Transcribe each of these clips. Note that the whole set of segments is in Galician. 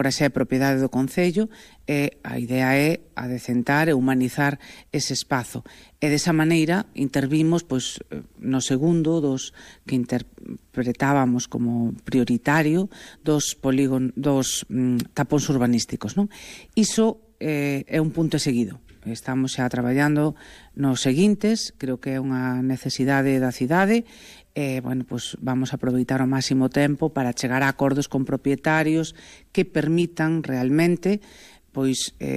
Agora xa é propiedade do Concello e a idea é adecentar e humanizar ese espazo. E desa maneira intervimos no segundo dos que interpretábamos como prioritario dos tapóns urbanísticos, non? Iso é un punto seguido. Estamos xa traballando nos seguintes, creo que é unha necesidade da cidade. Vamos a aproveitar ao máximo tempo para chegar a acordos con propietarios que permitan realmente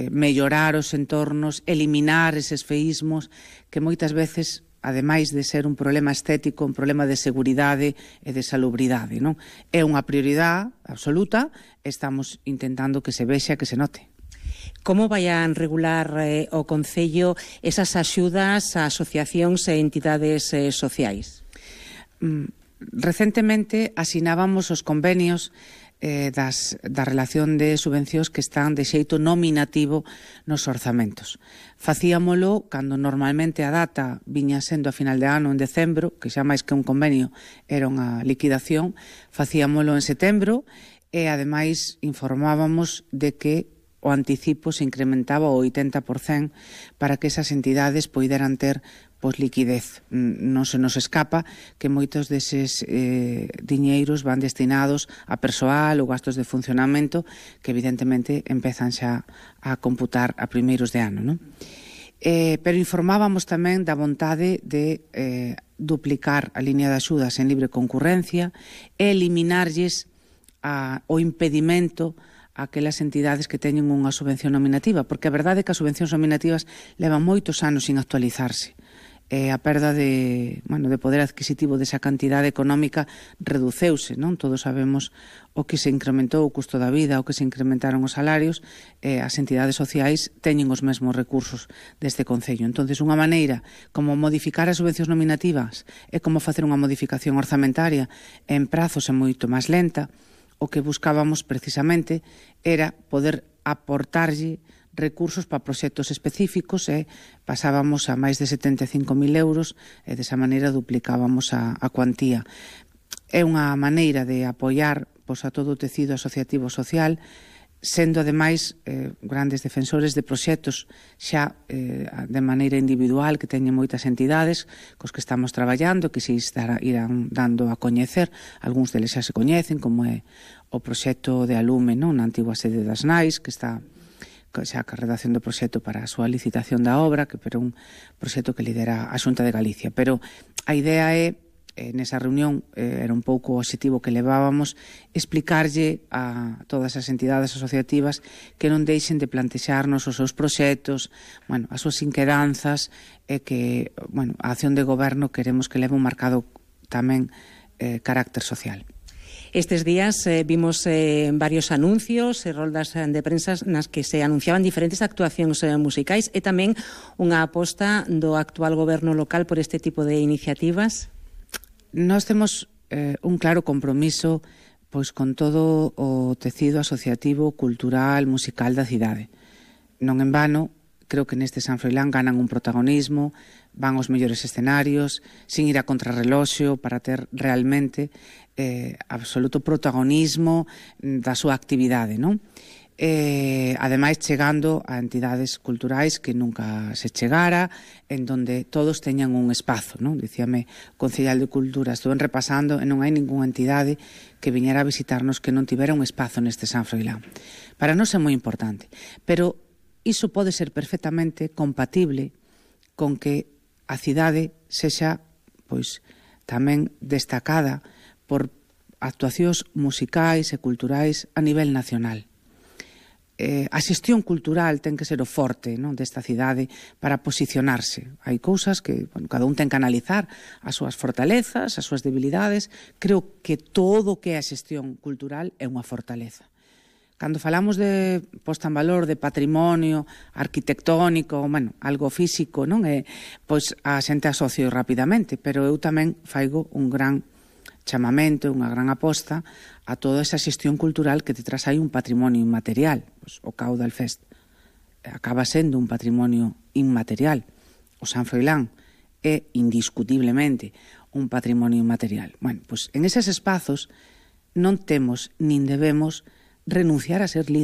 mellorar os entornos, eliminar eses feísmos que moitas veces, ademais de ser un problema estético, un problema de seguridade e de salubridade, non? É unha prioridade absoluta, estamos intentando que se vexa, que se note. Como vai a regular o Concello esas axudas a asociacións e entidades sociais? Recentemente asinábamos os convenios da relación de subvencións que están de xeito nominativo nos orzamentos. Facíamolo cando normalmente a data viña sendo a final de ano, en decembro, que xa máis que un convenio era unha liquidación, facíamolo en setembro e ademais informábamos de que o anticipo se incrementaba o 80% para que esas entidades poideran ter liquidez. Non se nos escapa que moitos deses diñeiros van destinados a persoal ou gastos de funcionamento que evidentemente empezan xa a computar a primeiros de ano, non? Pero informábamos tamén da vontade de duplicar a línea de axudas en libre concurrencia e eliminarlles o impedimento a aquelas entidades que teñen unha subvención nominativa, porque a verdade é que as subvencións nominativas levan moitos anos sin actualizarse. A perda de poder adquisitivo desa cantidade económica reduceuse, non? Todos sabemos o que se incrementou o custo da vida, o que se incrementaron os salarios, as entidades sociais teñen os mesmos recursos deste Concello. Entonces, unha maneira como modificar as subvencións nominativas é como facer unha modificación orzamentaria en prazos e moito máis lenta. O que buscábamos precisamente era poder aportarlle recursos para proxectos específicos e pasábamos a máis de 75.000 euros e desa maneira duplicábamos a cuantía. É unha maneira de apoiar a todo o tecido asociativo social, sendo ademais grandes defensores de proxectos xa de maneira individual que teñen moitas entidades cos que estamos traballando, que se irán dando a coñecer. Algúns deles xa se coñecen, como é o proxecto de Alume, non? Na antigua sede das Nais, que está xa a redacción do proxecto para a súa licitación da obra, que é un proxecto que lidera a Xunta de Galicia. Pero a idea é, nesa reunión, era un pouco o obxectivo que levábamos, explicarlle a todas as entidades asociativas que non deixen de plantexarnos os seus proxectos, as súas inquedanzas, e que a acción de goberno queremos que leve un marcado tamén carácter social. Estes días vimos varios anuncios e roldas de prensa nas que se anunciaban diferentes actuacións musicais e tamén unha aposta do actual goberno local por este tipo de iniciativas. Nós temos un claro compromiso con todo o tecido asociativo, cultural, musical da cidade. Non en vano, creo que neste San Froilán ganan un protagonismo, van aos mellores escenarios, sin ir a contrarreloxo, para ter realmente absoluto protagonismo da súa actividade, non? Ademais, chegando a entidades culturais que nunca se chegara, en donde todos teñan un espazo, non? Dicíame o Concellal de Cultura, estuven repasando e non hai ningunha entidade que viñera a visitarnos que non tivera un espazo neste San Froilán. Para nós é moi importante, pero iso pode ser perfectamente compatible con que a cidade sexa tamén destacada por actuacións musicais e culturais a nivel nacional. A xestión cultural ten que ser o forte, non, desta cidade para posicionarse. Hai cousas que cada un ten que analizar as súas fortalezas, as súas debilidades. Creo que todo o que é a xestión cultural é unha fortaleza. Cando falamos de posta en valor de patrimonio arquitectónico, algo físico, non é, a xente asocio rapidamente, pero eu tamén faigo un gran chamamento, unha gran aposta a toda esa xestión cultural que detrás hai un patrimonio inmaterial. O Caudal Fest acaba sendo un patrimonio inmaterial. O San Froilán é indiscutiblemente un patrimonio inmaterial. En eses espazos non temos nin debemos renunciar a ser líder.